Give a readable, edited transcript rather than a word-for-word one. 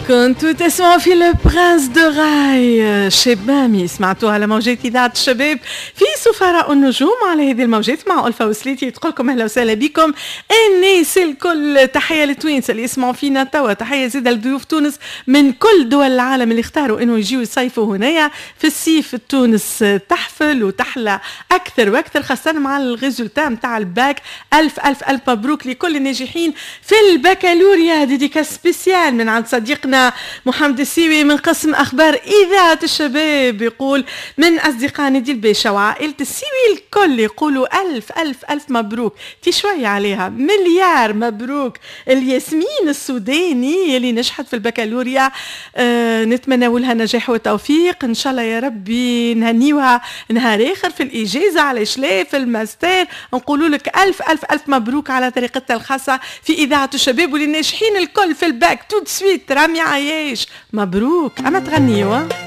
كنتوا تسمعوا في le prince du raï، شاب مامي، سمعتوها على موجات اذاعة الشباب في سفراء النجوم على هذه الموجات مع ألفا وسليتي. تقول لكم اهلا وسهلا بكم الناس الكل. تحية للتوانسه اللي يسمعوا فينا توا، تحية زيادة لضيوف تونس من كل دول العالم اللي اختاروا انه يجيو يصيفوا هنايا في الصيف. تونس تحفل وتحلى اكثر واكثر، خاصة مع ال résultats نتاع الباك. الف الف الف مبروك لكل الناجحين في البكالوريا. dédicace spéciale من عند صديقنا محمد السيوي من قسم اخبار اذاعة الشباب، يقول من اصدقاء نادي الباشا وعائلة السيوي الكل يقولوا الف الف الف مبروك، تي شوية عليها، مليار مبروك الياسمين السوداني اللي نجحت في البكالوريا. نتمنى لها نجاح وتوفيق ان شاء الله يا ربي، نهنيوها نهار اخر في الاجازه، علاش لا، في الماستر. نقولوا لك الف الف الف مبروك على طريقتها الخاصة في اذاعة الشباب وللناجحين الكل في ال bac. tout de suite رامي عياش، مبروك، اما تغنيوا.